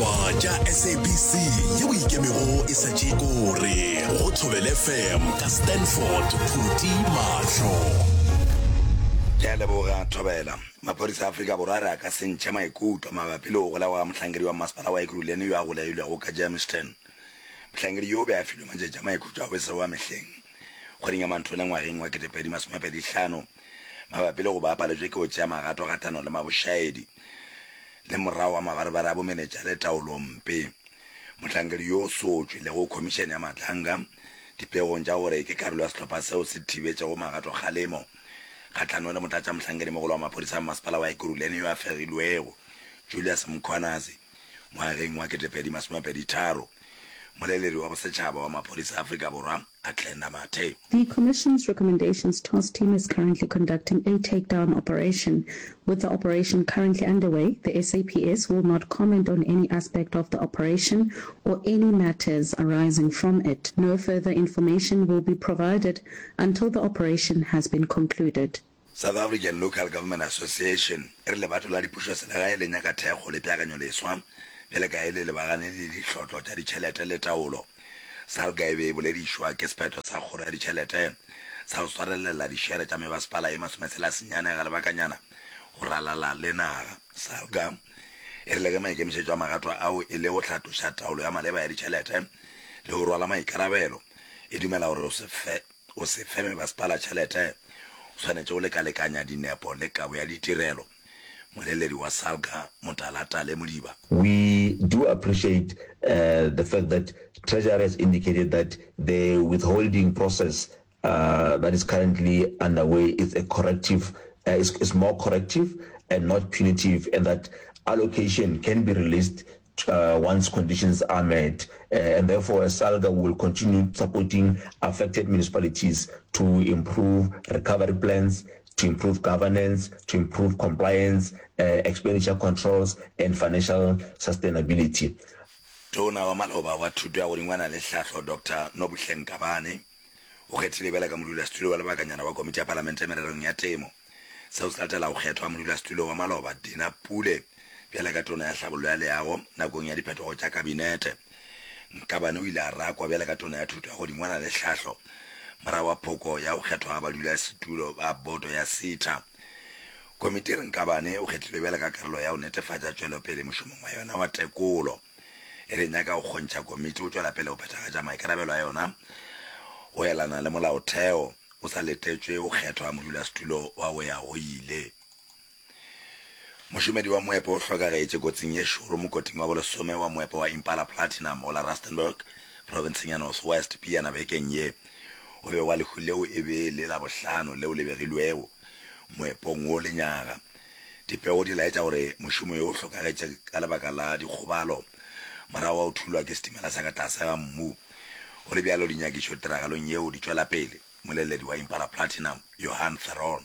Ditaba tša SABC yeo e ikemego e sa tšee kore go Thobela FM ka Stanford Phuti Mahlo. Ke a leboga Thobela. Maphodisa a Afrika Borwa a re a ka se ntšhe maikutlo mabapi le go golegwa ga mohlankedi wa masepala wa Ekurhuleni yo a golegilwego ka Germiston. Mohlankedi yo o be a filwe matšatši a maikhutšo a bosego a mehleng kgweding ya Manthole ngwageng wa 2025 mabapi le go ba a paletšwe ke go tšea magato kgahlanong le mabošaedi le morago ga mabarebare a bomenetša le taolompe. Mohlankedi yo o sotšwe le go Khomišene ya Matlanga dipegong tša gore ke karolo ya sehlopha seo se thibetšego magatokgalemo kgahlanong le motlatšamohlankedimogolo wa maphodisa a mmasepala wa Ekurhuleni yo a fegilwego, Julius Mkhwanazi, ngwageng wa 2023. Moleledi wa bosetšhaba wa maphodisa a Afrika Borwa, Athlenda Mathe. The Commission's recommendations task team is currently conducting a takedown operation. With the operation currently underway, the SAPS will not comment on any aspect of the operation or any matters arising from it. No further information will be provided until the operation has been concluded. South African Local Government Association e re lebato la dipušoselegae le nyaka thekgo le peakanyoleswa bjale ka e le lebagane le dihlotlo tša ditšhelete le taolo. SALGA e be e boledišwa ke sephetho sa kgoro ya ditšhelete sa go swarelela dišere tša mebasepala ye masometshela-senyane ga lebakanyana go ralala le naga. SALGA e rile ge maikemišetšo a magato ao e le go hlatloša taolo ya maleba ya ditšhelete le go rwala maikarabelo, e dumela gore go se fe mebasepala tšhelete go swanetše go lekalekanya dinepo le kabo ya ditirelo. Moleledi wa SALGA, Motalatale Modiba. We do appreciate the fact that Treasury has indicated that the withholding process that is currently underway is a corrective, is, is more corrective and not punitive, and that allocation can be released once conditions are met, and therefore SALGA will continue supporting affected municipalities to improve recovery plans, to improve governance, to improve compliance, expenditure controls and financial sustainability. Tona wa maloba wa Thuto ya Godingwana le Hlahlo Doctor Nobuhle Nkabane o kgethilwe bjalo ka modulasetulo wa lebakanyana wa Komiti ya Palamente mererong ya Temo. Seo se latela go kgethwa modulasetulo wa maloba Dina Pule bjalo ka Tona ya Hlabollo ya Leago nakong ya diphetogo tša Kabinete. Nkabane o ile a rakwa bjalo ka Tona ya Thuto ya Godingwana le Hlahlo morago ga phoko ya go kgethwa ga badulasetulo ba boto ya SETA. Komiti e re Nkabane o kgethilwe bjalo ka karolo ya go netefatša tšwelopele mošomong wa yona wa tekolo. E re nyaka go kgontšha komiti go tšwela pele go phethagatša maikarabelo a yona go elana le molaotheo o sa letetšwe go kgethwa modulasetulo wa go ya go ile. Mošomedi wa moepo o hlokagetše kotsing ye šoro mokoting wa bolesome wa moepo wa Impala Platinum go la Rustenburg, profenseng ya North West pejana bekeng ye. Go begwa lehu leo e be e le la bohlano leo le begilwego moepong wo lenyaga. Dipego di laetša gore mošomi yo o hlokagetše ka lebaka la dikgobalo morago ga go thulwa ke setimela sa ka tlase ga mmu. Go le bjalo, dinyakišo tiragalong yeo di tšwela pele, moleledi wa Impala Platinum, Johan Theron.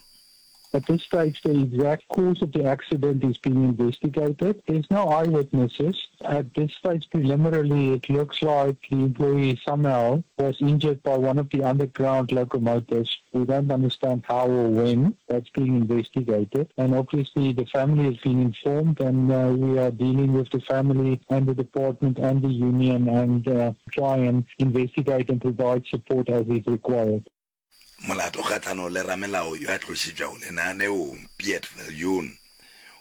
At this stage, the exact cause of the accident is being investigated. There's no eyewitnesses. At this stage, preliminarily, it looks like the employee somehow was injured by one of the underground locomotives. We don't understand how or when. That's being investigated. And obviously, the family has been informed, and uh, we are dealing with the family and the department and the union and uh, try and investigate and provide support as is required. Molato kgahlano le ramelao yo a tlošitšwego lenaneong, Piet Viljoen,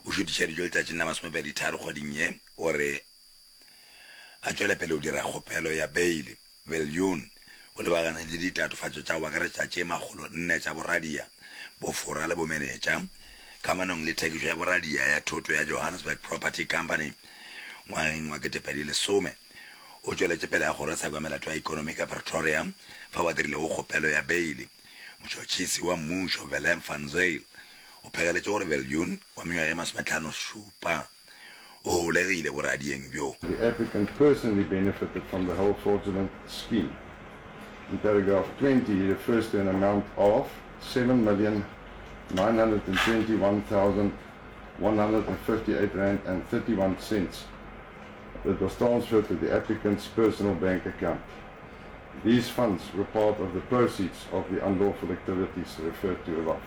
o šutišeditšwe letšatšing la masomepeditharo kgweding ye gore a tšwele pele go dira kgopelo ya beile. Viljoen o lebagane le ditatofatšo tša go akaretša tše 400 tša boradia, bofora le bomenetša kamanong le thekišo ya boradia ya thoto ya Johannesburg Property Company ngwageng wa 2010. O tšweletše pele ga kgorotsheko ya melato ya ekonomi ka Pretoria fao a dirilego kgopelo ya beile. Motšhotšhisi wa mmušo Willem van Zyl o phegeletše gore Viljoen wa mengwaga ye masometlhano-šupa o holegile boradieng bjo. The applicant personally benefited from the whole fraudulent scheme. In paragraph 20 he refers to an amount of 7,921,158 rand and 31 cents that was transferred to the applicant's personal bank account. These funds were part of the proceeds of the unlawful activities referred to above.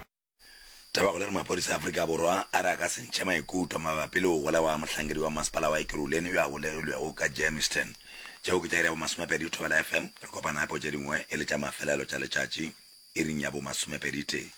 Tabakgolo e re maphodisa a Afrika Borwa a re a ka se ntšhe maikutlo mabapi le go golegwa ga mohlankedi wa masepala wa Ekurhuleni yo a golegilwego ka Germiston. Tšeo ke tša iri ya bomasomepedi Thobela FM. Re kopana gape go tše dingwe e le tša mafelelo tša letšatši iring ya bomasomepeditee.